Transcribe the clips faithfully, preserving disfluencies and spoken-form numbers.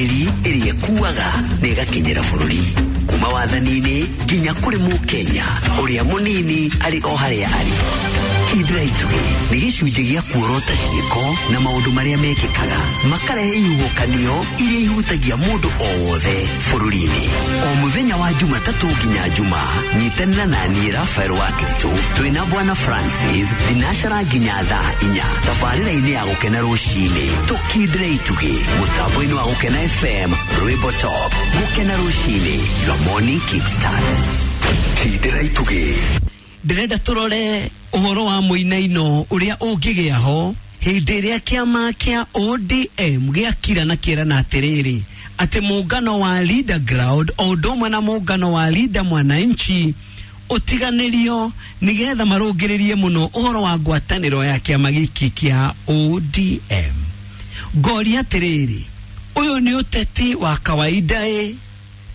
Ĩrĩa ĩkuaga na ĩgakinyĩra bũrũri kuma wathani-inĩ nginya kũrĩ mũkenya ũrĩa mũnini arĩ o harĩa arĩ. Kindĩra Itugĩ nĩ gĩcunjĩ gĩa kuorota ciĩko na maũndũ marĩa mekĩkaga makarehe ihuhũkanio iria ihutagia mũndũ o wothe bũrũri-inĩ. O mũthenya wa Jumatatũ nginya Juma, nyitanĩra na niĩ Rafael wa Kiritũ twĩna Bwana Francis thinacara nginya thaa inya tabarĩra-inĩ ya Gũkena Rũcinĩ. Tũkindĩre itugĩ mũtambo-inĩ wa Gũkena F M, Rwĩmbo Top. Gũkena Rũcinĩ, your morning kickstart. Kindĩra itugĩ. Ndĩrenda tũrore ũhoro wa mũinaino ũrĩa ũngĩgĩa ho hĩndĩ ĩrĩa kĩama kĩa O D M gĩakira na kĩrana atĩrĩrĩ atĩ mũngano wa Leader Ground o ũndũ ũmwe na mũngano wa Leader Mwananchi ũtiganĩrio nĩgetha marũngĩrĩrie mũno ũhoro wa ngwatanĩro ya kĩama gĩkĩ kĩa O D M. Ngoria atĩrĩrĩ, ũyũ nĩ ũteti wa kawaida ĩ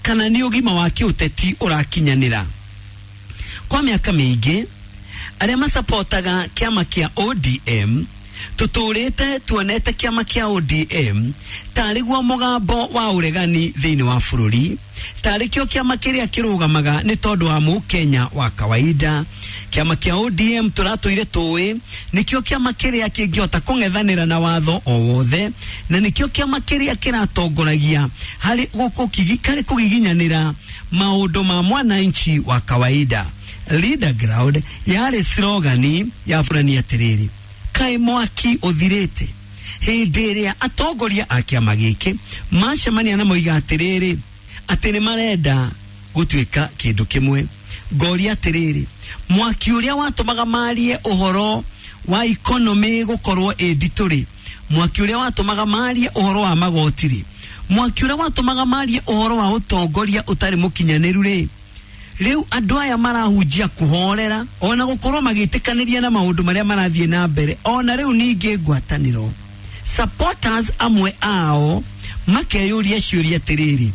kana nĩ ũgima wa kĩũteti ũrakinyanĩra? Kwa mĩaka mĩingĩ arĩa masapotaga kĩama kĩa O D M tũtũrĩte tuonete kĩama kĩa O D M tarĩ guo mũgambo wa ũregani thĩinĩ wa bũrũri, tarĩ kĩo kĩama kĩrĩa kĩrũgamaga nĩ tondũ wa mũkenya wa kawaida. Kĩama kĩa O D M tũratũire tũĩ nĩkĩo kĩama kĩrĩa kĩngĩhota kũng'ethanĩra na watho o wothe, na nĩkĩo kĩama kĩrĩa kĩratongoragia harĩ gũkũ harĩ kũgiginyanĩra maũndũ ma mwananchi wa kawaida. Leader Ground yarĩ slogani ya burani. Atĩrĩrĩ, kaĩ mwaki ũthirĩte hĩndĩ ĩrĩa atongoria a kĩama gĩkĩ macemania na moiga atĩrĩrĩ atĩ nĩ marenda gũtuĩka kĩndũ kĩmwe? Ngoria atĩrĩrĩ, mwaki ũrĩa watũmaga marie ũhoro wa economy gũkorwo ĩ nditũ rĩ, mwaki ũrĩa watũmaga marie ũhoro wa magoti rĩ, mwaki ũrĩa watũmaga marie ũhoro wa ũtongoria ũtarĩ mũkinyanĩru rĩ, rĩu andũ aya marahunjia kũhorera ona gũkorwo magĩtĩkanĩria na maũndũ marĩa marathiĩ na mbere, ona rĩu ningĩ ngwatanĩro supporters amwe ao makeyũria ciũria atĩrĩrĩ,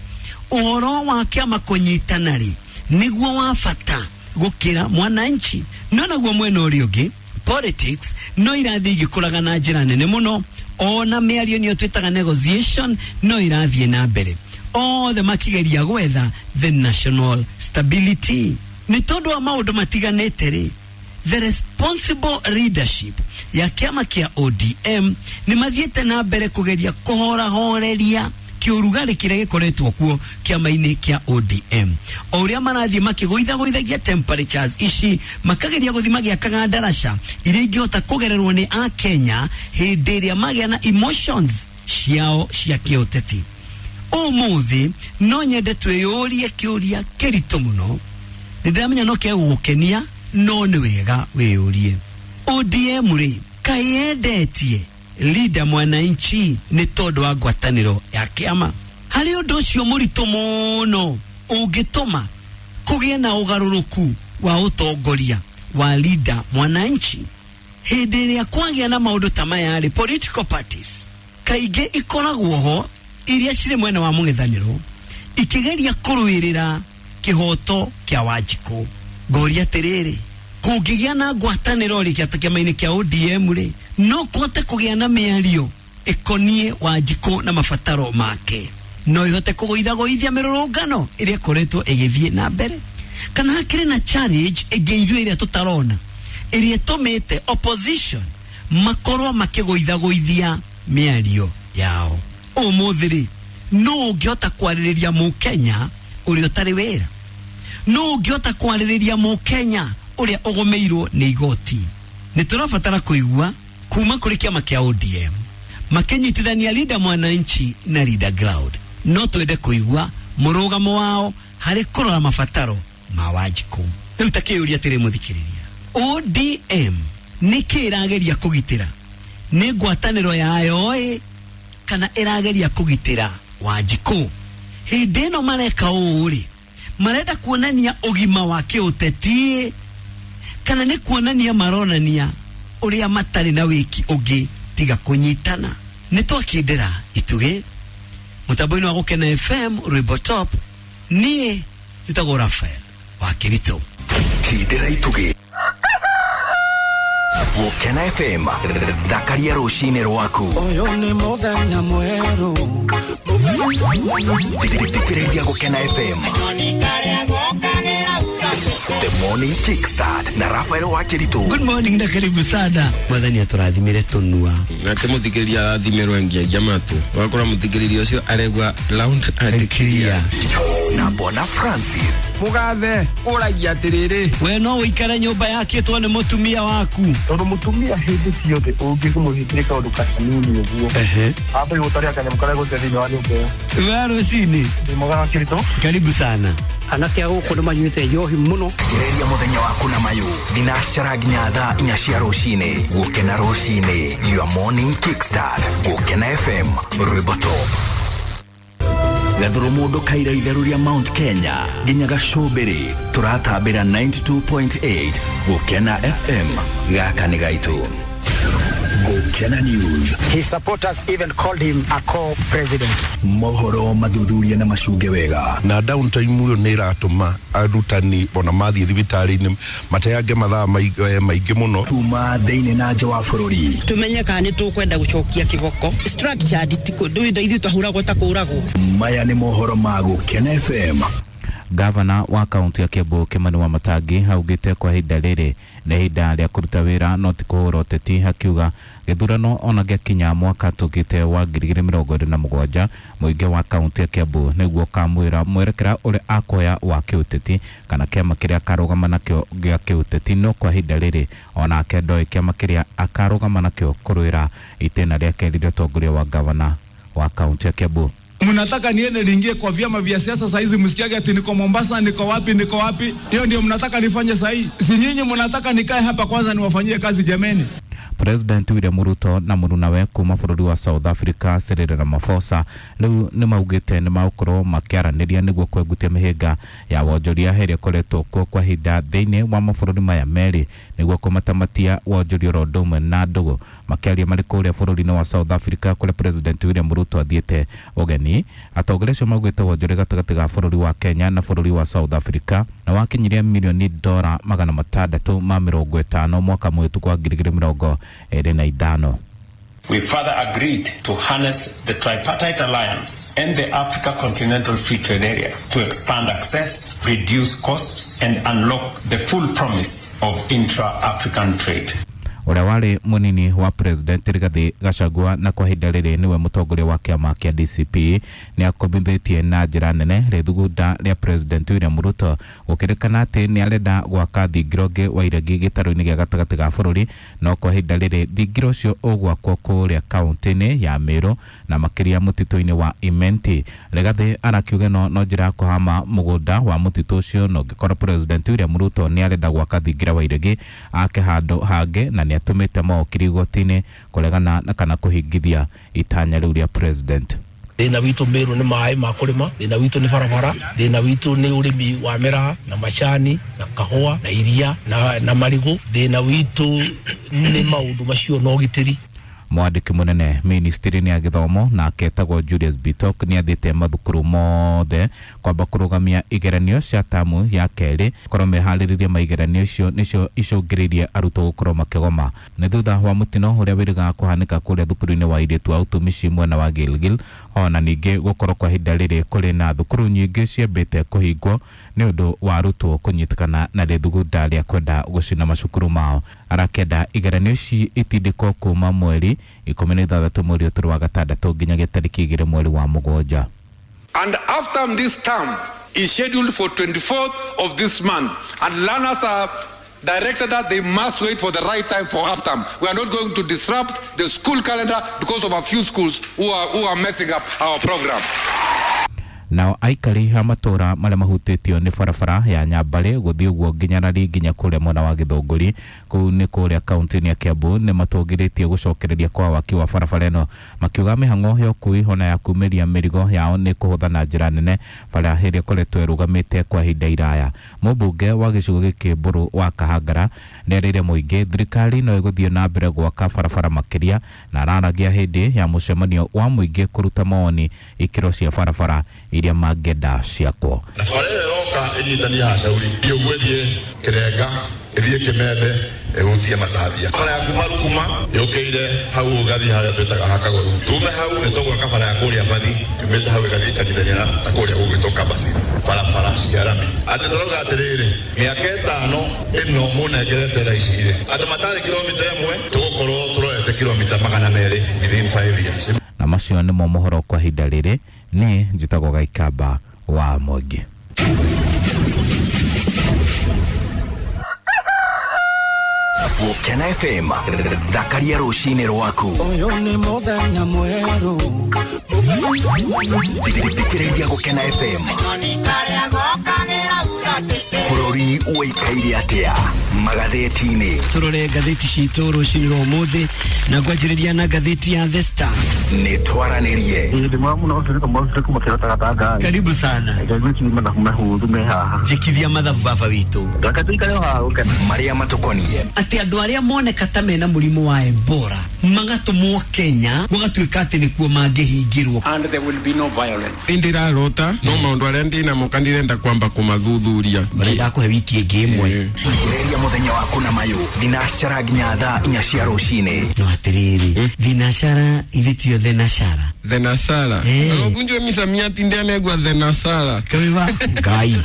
ũhoro wa kĩama kũnyitana rĩ nĩguo wa bata gũkĩra mwananchi? No naguo mwena ũrĩa ũngĩ, politics no irathiĩ igĩkũraga na njĩra nene mũno, ona mĩario nĩyo twĩtaga negotiation no irathiĩ na mbere, othe makigeria gwetha the national stability. Nĩ tondũ wa maũndũ matiganĩte rĩ, the responsible leadership ya kĩama kĩa O D M nĩ mathiĩte na mbere kũgeria kũhorahoreria kĩũrugarĩ kĩrĩa gĩkoretwo kuo kĩama-inĩ kĩa O D M. O ũrĩa marathiĩ makĩgũithagũithagia temperatures ici, makageria gũthiĩ magĩakaga ndaraca iria ingĩhota kũgererwo nĩ akenya hĩndĩ ĩrĩa magĩa na emotions ciao cia kĩũteti. Ũmũthĩ no nyende twĩyũrie kĩũria kĩritũ mũno. Nĩ ndĩramenya no kegũgũkenia, no nĩ wega wĩyũrie, O D M rĩ, kaĩ yendetie Leader Mwananchi nĩ tondũ wa ngwatanĩro ya kĩama? Harĩ ũndũ ũcio mũritũ mũno ũngĩtũma kũgĩe na ũgarũrũku wa ũtongoria wa Leader Mwananchi? Hĩndĩ ĩrĩa kwagĩa na maũndũ ta maya rĩ, political parties kaingĩ ikoragwo ho iria cirĩ mwena wa mũng'ethanĩro ikĩgeria kũrũĩrĩra kĩhoto kĩa Wanjikũ. Ngoria atĩrĩrĩ, kũngĩgĩa na ngwatanĩro rĩ kĩama-inĩ kĩa O D M rĩ, no kũhote kũgĩa na mĩario ĩkoniĩ Wanjikũ na mabataro make? No ihote kũgũithagũithia mĩrũrũngano ĩrĩa ĩkoretwo ĩgĩthiĩ na mbere, kana hakĩrĩ na challenge ĩngĩ ithuĩ ĩrĩa tũtarona ĩrĩa ĩtũmĩte opposition makorwo makĩgũithagũithia mĩario yao? Ũmũthĩ rĩ, no ũngĩhota kwarĩrĩria mũkenya ũrĩa ũtarĩ wĩra? No ũngĩhota kwarĩrĩria mũkenya ũrĩa ũgũmĩirwo nĩ igoti? Nĩ tũrabatara kũigua kuma kũrĩ kĩama kĩa O D M makĩnyitithania Leader Mwananchi na Leader Ground. No twende kũigua mũrũgamo wao harĩ kũrora mabataro ma Wanjikũ. Rĩu ta kĩũria atĩrĩ, mũthikĩrĩria, O D M nĩ kĩ ĩrageria kũgitĩra? Nĩ ngwatanĩro yayo ĩ kana ĩrageria kũgitĩra Wanjikũ? Hĩndĩ ĩno mareka ũũ rĩ, marenda kuonania ũgima wa kĩũteti kana nĩ kuonania maronania ũrĩa matarĩ na wĩki ũngĩ tiga kũnyitana? Nĩ twakindĩra itugĩ mũtambo-inĩ wa Gũkena F M, Rwĩmbo Top. Niĩ njĩtagwo Rafael wa Kĩritũ. Kindĩra itugĩ. Gũkena F M thakaria rũcinĩ rwaku. Ũyũ nĩ mũthenya mwerũ. Thikĩrĩria Gũkena F M. The Morning Kickstart na Rafael Wakiritu. Good morning na karibu sana. Mwathani atũrathimire tũnua. Nake mũthikĩrĩria arathimĩrwo ngiagia matũ. Wakora mũthikĩrĩria ũcio aregwa round and clear. Na Bwana Francis. Mugathe ũragia atĩrĩrĩ. We no ũikare nyũmba yakĩtwo nĩ mũtumia waku. Tondũ mũtumia hĩndĩ ciothe ũngĩmũhingĩria kaũndũ kanini ũguo. Ehe. Ambe gũtaria kanyamũ karĩa gũte thĩinĩ wa nyũmba ĩyo. We rũcinĩ. Ndĩ mwega Wakiritu. Karibu sana. Anake a gũkũ nĩ manyuĩte njohi mũno. Gereria mũthenya waku na mayũ thinacara nginya thaa inya cia rũcinĩ. Gũkena rũcinĩ, your morning kickstart. Gũkena F M, rwĩmbo top. Gathuru mundu kaira itheru ria Mount Kenya nginya Gacũmbĩrĩ turatambĩra ninety-two point eight Gũkena F M gaka nĩ gaitũ. Gũkena News. His supporters even called him a co-president. Mohoro mathuthuria na macunge wega. Na downtime uyo nĩ ĩratũma arutani ona mathiĩ thibitarĩ-inĩ mateange mathaa maingĩ mũno. Kuma thĩinĩ na nja wa bũrũri. Tumenye kana nĩ tũkwenda gũcokia kĩboko. Structured ti kũndũ ithuĩ twahũragwo ta kũragwo. Maya nĩ mohoro ma Gũkena F M. Gavana wa kaunti ya Kiambu Kimani Wamatangi augite kwa ihinda rĩrĩ nĩ ihinda rĩa kũruta wĩra no ti kũhũra ũteti, akiuga gĩthurano ona gĩakinya mwaka tũkĩte wa ngiri igĩrĩ mĩrongo ĩrĩ na mũgwanja mũingĩ wa kaunti ya Kiambu nĩguo kamwĩra mwerekera ũrĩa akoya wa kĩũteti kana kĩama kĩrĩa akarũgama nakĩo gĩa kĩũteti, no kwa ihinda rĩrĩ onake ndoĩ kĩama kĩrĩa akarũgama nakĩo kũrũĩra itĩna rĩa kerĩ rĩa ũtongoria wa gavana wa kaunti ya Kiambu. Mnataka niende niingie kwa vyama vya siasa saa hizi msikiage ati niko Mombasa, niko wapi, niko wapi? Hiyo ndio mnataka nifanye saa hii? Si nyinyi mnataka nikae hapa kwanza niwafanyie kazi jameni? President William Ruto na mũrunawe kuma bũrũri wa South Africa Cyril Ramaphosa rĩu nĩ maugĩte nĩ magũkorwo makĩaranĩria nĩguo kwengutia mĩhĩnga ya wonjoria ĩrĩa ĩkoretwo kuo kwa ihinda thĩinĩ wa mabũrũri maya merĩ nĩguo kũmatamatia wonjoria oro ũndũ ũmwe na ndũgũ. Makĩaria marĩ kũrĩa bũrũri-inĩ wa South Africa kũrĩa President William Ruto athiĩte ũgeni, atongoria acio maugĩte wonjoria gatagatĩ ga bũrũri wa Kenya na bũrũri wa South Africa na wakinyirie mirioni dora magana matandatũ ma mĩrongo ĩtano mwaka mũhĩtũku wa ngiri igĩrĩ mĩrongo ĩrĩ na ithano. We further agreed to harness the tripartite alliance and the Africa Continental Free Trade Area to expand access, reduce costs, and unlock the full promise of intra-African trade. Ũrĩa warĩ mũnini wa President Rigathi Gachagua na kwa ihinda rĩrĩ nĩwe mũtongoria wa kĩama kĩa D C P nĩ akombithĩtie na njĩra nene rĩthugunda rĩa President William Ruto gũkĩrĩkana atĩ nĩ arenda gwaka thingira ũngĩ wa iregi gĩtarũ-inĩ gĩa gatagatĩ ga bũrũri, no kwa ihinda rĩrĩ thingira ũcio ũgwakwo kũrĩa kaunti-inĩ ya Meru na makĩria mũtitũ-inĩ wa Imenti. Rigathi arakiuga ĩno no njĩra ya kũhama mũgũnda wa mũtitũ ũcio, na ũngĩkorwo President William Ruto nĩ arenda gwaka thingira wa iregi ake handũ hangĩ, na nĩ atũmĩte mawakiri igoti-inĩ kũregana na kana kũhingithia itanya rĩu rĩa president. Thĩna witũ Meru nĩ maĩ ma kũrĩma, thĩna witũ nĩ barabara, thĩna witũ nĩ ũrĩmi wa mĩraha na macani na kahũa na iria na, na marigũ, thĩna witũ nĩ maũndũ macio na ũgitĩri. Mwandĩki mũnene ministry-inĩ ya gĩthomo nake etagwo Julius Bitok nĩ athĩte mathukuru mothe kwamba kũrũgamia igeranio cia tamu ya kerĩ korwo meharĩrĩrie maigeranio icio nĩcio icũngĩrĩirie arutwo gũkorwo makĩgoma. Nĩ thutha wa mũtino ũrĩa wĩrĩgaga kũhanĩka kũrĩa thukuru-inĩ wa airĩtu a ũtumishi mwena wa Gilgil, ona ningĩ gũkorwo kwa ihinda rĩrĩ kũrĩ na thukuru nyingĩ ciambĩte kũhingwo nĩ ũndũ wa arutwo kũnyitĩkana na rĩthugunda rĩa kwenda gũcina macukuru mao. Arakenda igeranio ici itindĩkwo kuma mweri ikũmi na ithathatũ mweri ũtũrũ wa gatandatũ nginyagia tarĩki igĩrĩ mweri wa mũgwanja. And after this term is scheduled for twenty-fourth of this month, and learners are directed that they must wait for the right time for half term. We are not going to disrupt the school calendar because of a few schools who are, who are messing up our program. Nao aikari a matũra marĩa mahutĩtio nĩ barabara ya Nyambarĩ gũthiĩ ũguo nginya Rari nginya kũrĩa mwena wa Gĩthũngũri kũu nĩ kũrĩa kaunti-inĩ ya Kiambu nĩ matũngĩrĩtie gũcokereria kwa waki wa barabara ĩno, makiuga mĩhang'o ya ũkui ona ya kumĩria mĩrigo yao nĩ kũhũtha na njĩra nene bara ĩrĩa ĩkoretwo ĩrũgamĩte kwa ihinda iraya. Mũmbunge wa gĩcigo gĩkĩ Mbũrũ wa Kahangara nĩerĩire mũingĩ thirikari no ĩgũthiĩ na mbere gwaka barabara makĩria, na araragia hĩndĩ ya mũcemanio wa mũingĩ kũruta mawoni ikĩro cia barabara iria mangĩenda ciakwo. Barabara ĩyo ĩroka ĩnyitania Hashauri, ũguo ĩthiĩ Kĩrenga, ĩthiĩ Kĩmende, Ehutie Matathia. Bara ya kuma Rukuma yũkĩire hau ũgathiĩ harĩa twĩtaga Hakagoru. Tume hau nĩ tũgwaka bara ya kũrĩa Bathi yumĩte hau ĩgathiĩ ĩkanyitania na kũrĩa gũgwĩtwo Kabasi. Barabara cia rami. Atĩ tũrauga atĩrĩrĩ, mĩaka ĩtano ĩno mũnengerete thaa ici rĩ, andũ matarĩ kilomita ĩmwe tũgũkorwo tũrorete kilomita magana merĩ within five years. Na macio nĩmo mohoro kwa ihinda rĩrĩ. Niĩ njĩtagwo Gaikamba wa Mwangi. Gũkena F M thakaria rũcinĩ rwaku. Ũyũ nĩ mũthenya mwerũ. Thikĩrĩria Gũkena F M. Bũrũri ũikaire atĩa magathĩti-inĩ. Tũrore ngathĩti citũ rũcinĩ rwa ũmũthĩ na ngwanjĩrĩria na ngathĩti ya The Star. Nĩ twaranĩrie. Karibu sana. Njĩkithia mathabu baba witũ. Marĩa matũkoniĩ. Atĩ andũ arĩa moneka ta mena mũrimũ wa Ebola magatũmwo Kenya gũgatuĩka atĩ nĩkuo mangĩhingĩrwo. And there will be no violence. Ndirarota no maũndũ arĩa ndĩnamo kandirenda kwamba kũmathuthuria. Barenda kũhe wiki ĩngĩ ĩmwe. Thikĩrĩria mũthenya waku na mayũ thinacara nginya thaa inya cia rũcinĩ. No atĩrĩrĩ, thinacara ithe tio thenashara. Thenashara. Ũkunjwe misamiati ndianegwa thenashara. Kawiwa Ngai.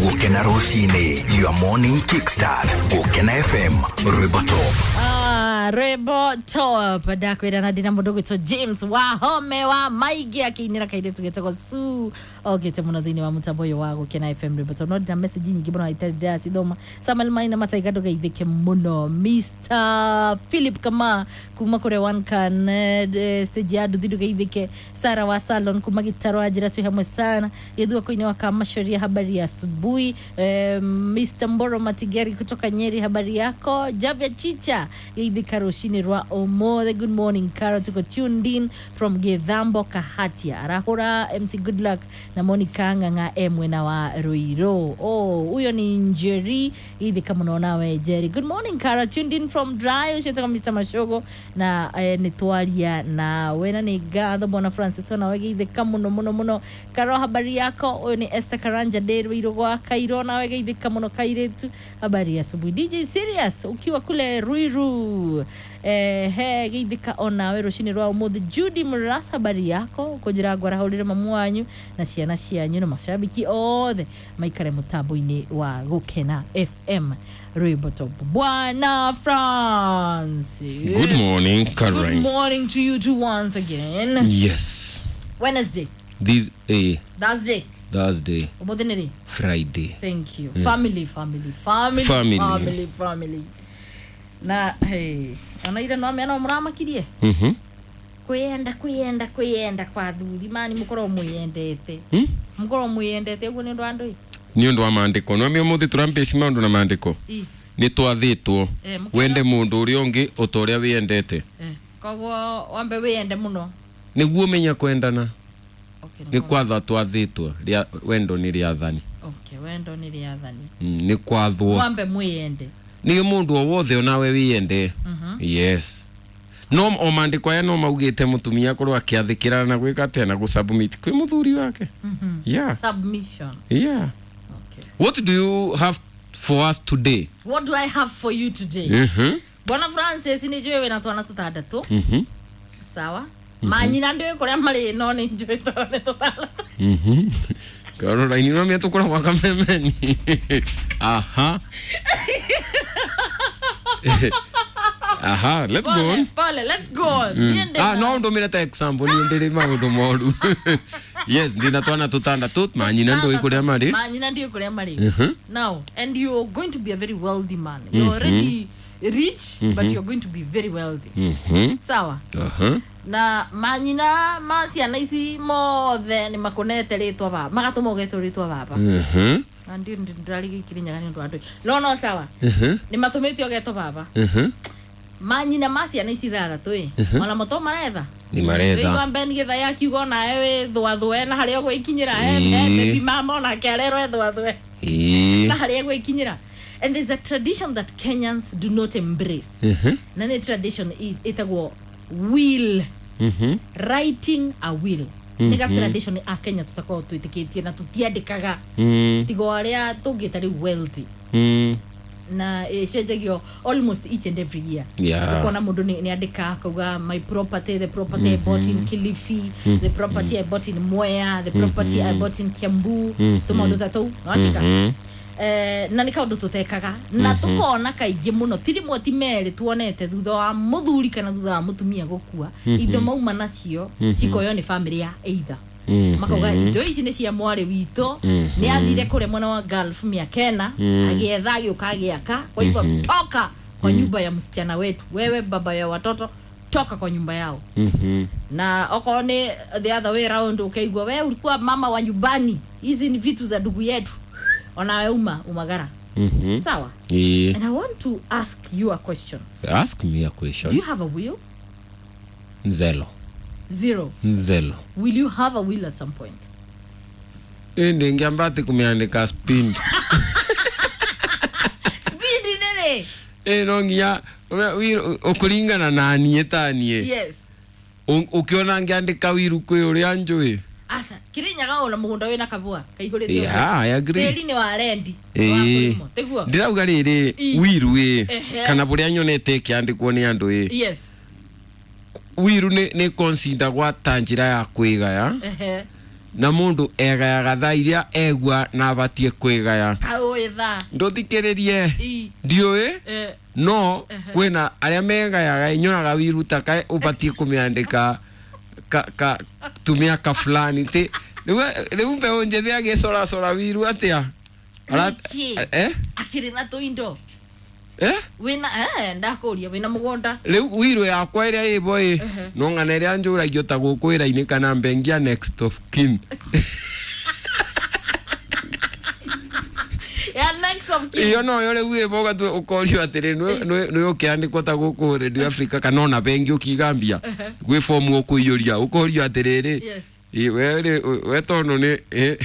Gũkena rũcinĩ, your morning kickstart. Gũkena F M, rwĩmbo top. Ah, rwĩmbo top. Ndakwĩra na ndĩna mũndũ ũgwĩtwo James Wahome wa Maingĩ akĩinĩra kairĩtu getagwo Sue okĩte mũno thĩinĩ wa mũtambo ũyũ wa Gũkena F M rwĩmbo top. No ndĩna message nyingĩ mũno itarĩ ndĩracithoma. Samuel Maina Mataiga ndũgeithĩke mũno. Mister Philip Kama kuma kũrĩa One Can stage ya nduthi ndũgeithĩke. Sarah wa Salon kuma Gĩtarũ anjĩra twĩ hamwe sana. Gĩthua koinĩ wa Kamachoria habari ya asubuhi. Eh, Mister Mboro Matigeri kutoka Nyeri habari yako. Javia Chicha geithĩka rũcinĩ rwa ũmũthĩ. Good morning Carol, tuko tuned in from Githambo Kahatia. Arahura M C Good Luck na Monica Ng'ang'a e mwena wa Ruiru. Oh, huyo ni Njeri geithĩka mũno nawe Njeri. Good morning Carol, tuned in from Dry ucio Mister Mashogo na eh, nĩtwaria nawe na nĩ ngatho bwana Francis nawe geithĩka mũno mũno mũno. Carol habari yako. Ũyũ nĩ Esther Karanja ndĩ Ruiru gwa Kairo nawe geithĩka mũno kairĩtu habari ya asubuhi. D J Serious ukiwa kule Ruiru eh he geithĩka onawe rũcinĩ rwa ũmũthĩ. Judy Murasa habari yako kũnjĩra ngwarahũrĩre mamu wanyu na ciana cianyu na mashabiki othe maikare mũtambo-inĩ wa Gũkena F M rwĩmbo top. Bwana Francis, good morning Caroline. Good morning to you too once again. Yes, Wednesday, this eh Thursday Thursday, ũmũthĩ nĩ rĩ? Friday. Thank you. Yeah. Family, family, family, family, family, family. Na hey, ona ira no amena mũramakirie. Mhm. Kwiyenda kwiyenda kwiyenda kwa thuri mani mukorwo mwiyendete. Hmm? Mukorwo mwiyendete uguo nĩ ũndũ wa ndũi. Nĩ ũndũ wa maandĩko. No ũmũthĩ tũrambĩci maũndũ na maandĩko. Nĩ twathĩtwo wende mũndũ ũrĩa ũngĩ o ta ũrĩa wiyendete. Eh, koguo wambe wiyende mũno. Nĩguo menya kwendana. Nĩ kwatha twathĩtwo wendo nĩ rĩathani. Okay, wendo nĩ rĩathani. Nĩ kwathwo. Wambe mwiyende. Nĩ mũndũ o wothe onawe wiyende. Yes. No o maandĩko aya no maugĩte mũtumia akorwo akĩathĩkĩra na gwĩka atĩa na gũsubmit kwĩ mũthuri wake. Yeah. Submission. Yeah. Okay. What do you have for us today? What do I have for you today? Mhm. Bwana Francis nĩ njũĩ wĩna twana tũtandatũ. Mhm. Sawa. Manyina ndiũĩ kũrĩa marĩ no nĩ njũĩ twana tũtandatũ. Mhm. Caroline no mĩatũ kũrĩa gwa Kamemeni. Aha. Aha, let's pole, go on. Pole, let's go on. Mm. Ah, no ndũmĩre ta example ni ndĩrĩ maũndũ moru. Yes, ndina twana tũtandatũ manyina ndũĩ kũrĩa marĩ. Manyina ndiũĩ kũrĩa marĩ. Now, and you're going to be a very wealthy man. You're mm -hmm. already rich, mm -hmm. but you're going to be very wealthy. Mm -hmm. Sawa? Uh-huh. Na manyina ma ciana ici mothe nĩ makonete rĩtwa baba. Magatũma ũgetwo rĩtwa baba. Mhm. Na ndio ndĩrarigĩkire nyaga nĩ ũndũ wa ndũĩ. No no sawa. Mhm. Nĩ matũmĩte ũgetwo baba. Mhm. Manyina ma ciana ici ithathatũ ĩ. Ona moto maretha. Nĩ maretha. Rĩu ambe nĩgetha ya kiugo nawe wĩ thwathwe na harĩa ũgwĩkinyĩra eh baby mama onake arerwo ethwathwe. Ĩĩ. Na harĩa ũgwĩkinyĩra. And there's a tradition that Kenyans do not embrace. Mhm. Na nĩ tradition ĩtagwo will. Mhm. Writing a will. Nĩ ga tradition a Kenya tutakorwo twĩtĩkĩtie na tũtiandĩkaga. Mm. Tigo arĩa tũngĩta rĩu wealthy. Mm. Na ĩcenjagio almost each and every year. Yeah. Ukona mũndũ nĩ nĩ andĩka akauga my property, the property I bought in Kilifi, Mm. the property I bought in Mwea, the property I Mhm. bought in Kiambu, Mhm. tũmaũndũ ta tũu nĩwacika. Mhm. Eh, na nĩ kaũndũ tũtekaga na Mhm. tũkona kaingĩ mũno ti rĩmwe ti merĩ tuonete thutha wa mũthuri kana thutha wa mũtumia gũkua, Mhm. indo mauma nacio Mhm. cikoywo nĩ bamĩrĩ ya either Mhm. makauga indo ici nĩ cia mwarĩ witũ, Mhm. nĩ athire kũrĩa mwena wa Gulf mĩaka ĩna, Mm. agĩetha agĩũka agĩaka, kwa hivyo Mhm. toka kwa Mm. nyumba ya msichana wetu, wewe baba ya watoto toka kwa nyumba yao. Mhm. Na okorwo nĩ the other way round ukaigua we ulikuwa mama wa nyumbani, hizi ni vitu za ndugu yetu, onawe uma umagara. Mhm. Sawa. Yeah. And I want to ask you a question. Ask me a Do question. you have a will? Nzelo. Zero. Nzelo. Will you have a will at some point? Ndingiamba ati kumiandika speed. Speed nene. Eh, no nginya ukuringana na niĩ ta niĩ. Yes. Ukiona ngiandika wiru kwĩ ũrĩa njũĩ. Asa Kirinyaga ona mũgũnda wĩna kabua kaihũrĩte. Yeah, I agree. Tĩri nĩ wa rendi. Ĩĩ. Tiguo. Ndĩrauga rĩrĩ Ĩ. wiru ĩ Ehe. kana bũrĩa nyonete ĩkĩandĩkwo nĩ andũ ĩ. Yes. Wiru nĩ nĩ consider gwa ta njĩra ya kwĩgaya Ehe. na mũndũ egayaga thaa iria egua na abatie kwĩgaya. Kaũĩ thaa. Ndũthikĩrĩrie. Ĩ. Ndiũĩ Eh. no Ehe. kwĩna arĩa megayaga nyonaga wiru ta kaĩ ũbatie kũmĩandĩka ka ka tumĩaka fulani ti rĩu rĩu mbeũ njĩthĩ agĩcoracora wiru atĩa? Ara- Nĩkĩ? eh Akĩrĩ na tũindo. eh Wĩna eh ndakũria wĩna mũgũnda. rĩu wiru yakwa ĩrĩa ĩbo ĩ Ehe. no ng'ana ĩrĩa njũragio ta gũkũ wĩra-inĩ kana mbengi ya next of kin. Ya next of kin. Iyo noyo rĩu ĩbo ũgatua ũkorio atĩrĩ nĩ ũkĩandĩkwo ta gũkũ Radio Africa kana ona bengi ũkigambia Ehe. gwĩ fomu ũkũiyũria ũkorio atĩrĩrĩ Yes. ĩ, we rĩ we tondũ nĩ ĩ,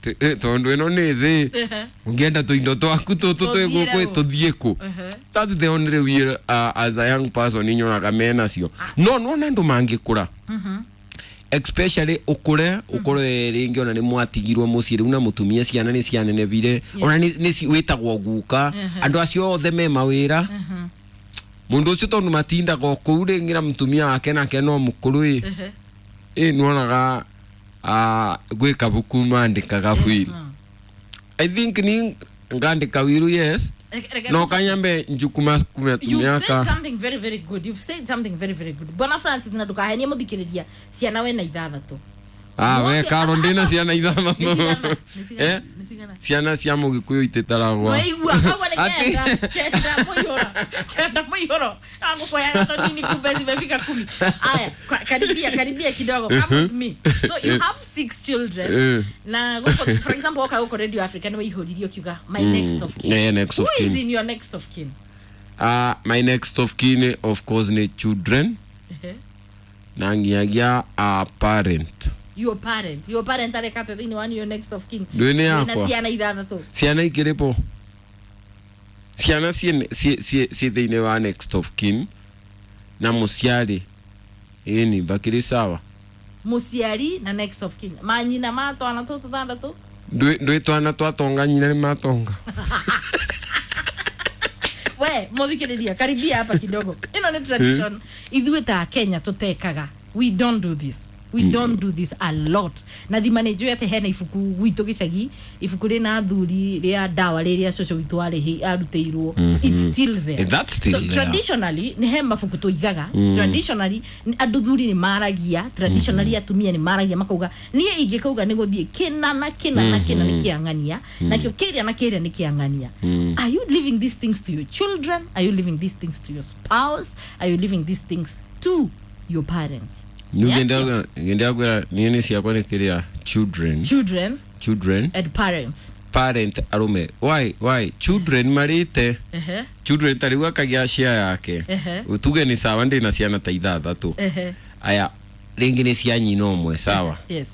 t- ĩ, tondũ ĩno nĩ thĩ Ehe. ũngĩenda tũindo twaku tũtũ twĩ Tũthiĩre gũkũ kũ? tũthiĩ kũ. Ehe. That's the only way uh, as a young person inyonaga menacio no nona andũ mangĩkũra Mhm. especially ukure ukorwe ringi ona ni mwatigirwo mucii riu na mutumia ciana ni cianenevire ona ni ni ci- witagwo guka Mhm. andu acio othe me mawira Mhm. mundu ucio tondu matindaga o kuu ringi na mutumia wake nake no mukuru i Ehe. ĩ nwonaga ah, gwĩ kabuku mandĩkaga will. I think ni ngandĩka wiru, yes. Reke- reke No tũcoke. kanyambe njukuma kume You've said tumiaka something very very good. You've said something very very good. Bwana Francis na ndukahenie muthikiriria ciana we na ithathatũ. Ah, we karo ndina ciana Nĩ ithathatũ. cigana? Nĩ cigana? Eh? Nĩ cigana? Ciana cia mũgĩkũyũ ititaragwo. Waigua kau nĩ Ati- kenda kenda mũihũro kenda mũihũro agũkũheaga tũnini kumbe zimefika kumi. Aya, kwa- karibia karibia kidogo, come with me. So you have six children Eh. na gũkũ, for example, woka gũkũ Radio Africa nĩ waihũririe ũkiuga my Mm. next of kin. Yeah, next of Who is kin. in your next of kin? Ah, my next of kin of course nĩ children Ehe. na nginyagia a parent. Your parent, your parent arekate thĩinĩ wa your next of kin? Ndũĩ nĩ Wĩna yakwa. ciana ithathatũ. Ciana ikĩrĩ ciana ciĩ ciĩ- ciĩ ciĩ thĩinĩ wa next of kin na mũciari ĩni bakĩrĩ sawa. Mũciari na next of kin manyina ma twana tũtũ tũthandatũ. Ndwĩ ndwĩ twana twatonga nyina nĩ matonga. We muthikiriria karibia hapa kidogo, ĩno nĩ tradition ithuĩ ta Kenya tũtekaga. We don't do this, we mm. don't do this a lot. Na thima nĩ njũĩ atĩ hena ibuku gwitũ gĩcagi, ibuku rĩna athuri rĩa ndawa rĩrĩa cũcũ witũ arĩhi arutĩirwo. Mhm. It's still there. Eh, that's still So there. traditionally nĩ he mabuku tũigaga. Mm. Traditionally nĩ- andũ thuri nĩ maragia, traditionally atumia nĩ maragia makauga niĩ ingĩkauga nĩ gũthiĩ kĩna na kĩna na kĩna nĩ kĩang'ania, nakĩo kĩrĩa na kĩrĩa nĩ kĩang'ania. Mm. Are you leaving these things to your children? Are you leaving these things to your spouse? Are you leaving these things to your parents? Ngĩendaga kwĩra niĩ nĩ ciakwa nĩ kĩrĩa children. Children. Children. And parents. Parent arume why why children marĩte Ehe. children ta rĩu akagĩa share yake. Ehe. Tuge nĩ sawa ndĩna ciana ta ithathatũ. Ehe. Aya rĩngĩ nĩ cia nyina ũmwe sawa. Yes.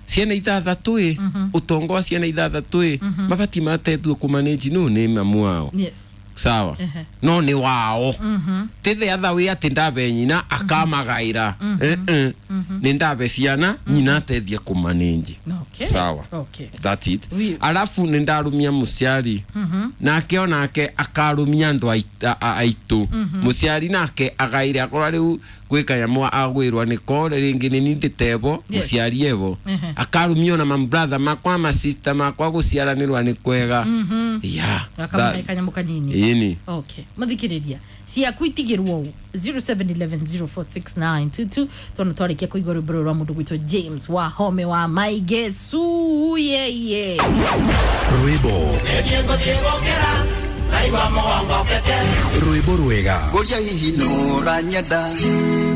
Ciana ithathatũ ĩ ũtonga wa ciana ithathatũ ĩ mabati matetwo kũmanĩnji nũ nĩ mamu wao. Yes. Sawa. Ehe. No nĩ wao. Mhm. Ti the other way atĩ ndabe nyina akamagaĩra. Eh, eh. Nĩ ndabe ciana nyina ateithie kũmanĩnji. Okay. Sawa. Okay. That's it. We- Alafu nĩ ndarumia mũciari Mhm. nake onake akarumia andũ ait- a- a- aitũ. Mhm. Mũciari nake agaire akorwo rĩu gwĩ kanyamũ agwĩrwo nĩko rĩngĩ nĩ ndĩtebo Yes. mũciari evo Ehe. akarumia ona mambratha makwa masista makwa gũciaranĩrwa nĩ kwega. Mhm. Yeah, Akamahe that- kanyamũ kanini. ĩni. Okay. Mũthikĩrĩria ciaku itigĩrwo ũũ zero seven one one zero four six nine two two tondũ twarĩkia kũigua rwĩmbo rũrũ rwa mũndũ gwitũ James Wahome wa Maige Suyeye. Rwĩmbo rwĩmbo rwega. Ngũria hihi nũranyenda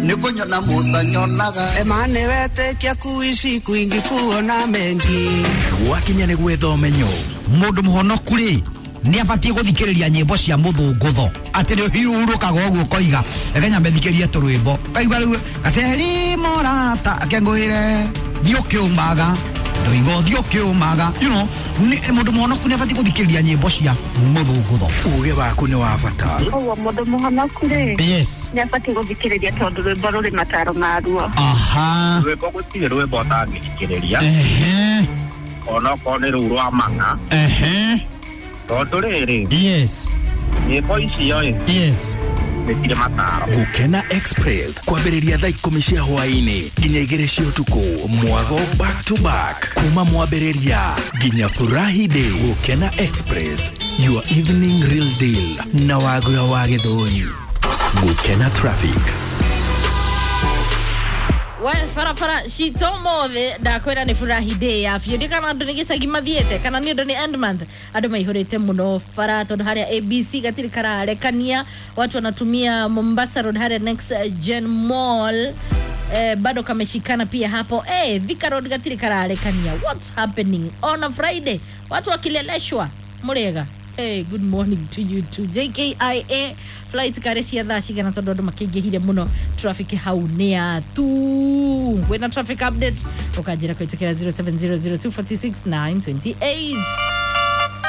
nĩ kũnyona mũtanyonaga Emane wetĩkia kuishi kwingi kuona mengi. Gwakinya nĩ gwetha ũmenyo. Mũndũ mũhonoku rĩ nĩ abatiĩ gũthikĩrĩria nyĩmbo cia mũthũngũtho atĩ nĩ ũhurũkaga ũguo ũkoiga reke nyambe thikĩrie tũrwĩmbo kaigua rĩu gaceri mũrata akengũĩre thiĩ ũkĩũmaga ndoiga ũthiĩ ũkĩũmaga, you know, nĩ- mũndũ mũhonoku nĩ abatiĩ gũthikĩrĩria nyĩmbo cia mũthũngũtho. Uge waku nĩ wa bata. Koguo mũndũ mũhonoku rĩ, Yes. nĩ abatiĩ gũthikĩrĩria tondũ rwĩmbo rũrĩ mataro maruo. Aha. Rwĩmbo gũtirĩ rwĩmbo ũtangĩthikĩrĩria. Ehe. Onokorwo nĩ rũu rwa mang'a. Ehe. Tondũ rĩrĩ, Yes. nyĩmbo icio ĩ, Yes. nĩ cirĩ mataro. Gũkena Express kwambĩrĩria thaa ikũmi cia hwaĩ-inĩ nginya igĩrĩ cia ũtukũ. Mwago back to back kuma mwambĩrĩria nginya furahi day. Gũkena Express, your evening real deal na wagura wa Gĩthũri. Gũkena traffic. We barabara citå mothe ndakwä nä furahi day ya biå ndä kana andå nä gä cagi mathiäte kana nä ũndũ nĩ end month andå maihå rä te må no bara tondå harä a A B C gatirä kararekania watu wanatumia Mombasa Road harĩa Next Gen Mall, eh, bado kameshikana pia hapo, eh, Thika Road gatirĩ kararekania. What's happening on a Friday, watu wakileleshwa mũrĩega? Hey, good morning to you too. J K I A flight kare cia thaa cigana tondũ andũ makĩingĩhire mũno traffic hau nĩ ya tu wĩna traffic update ũkanjĩra kũhĩtũkĩra zero seven zero zero two four six nine two eight.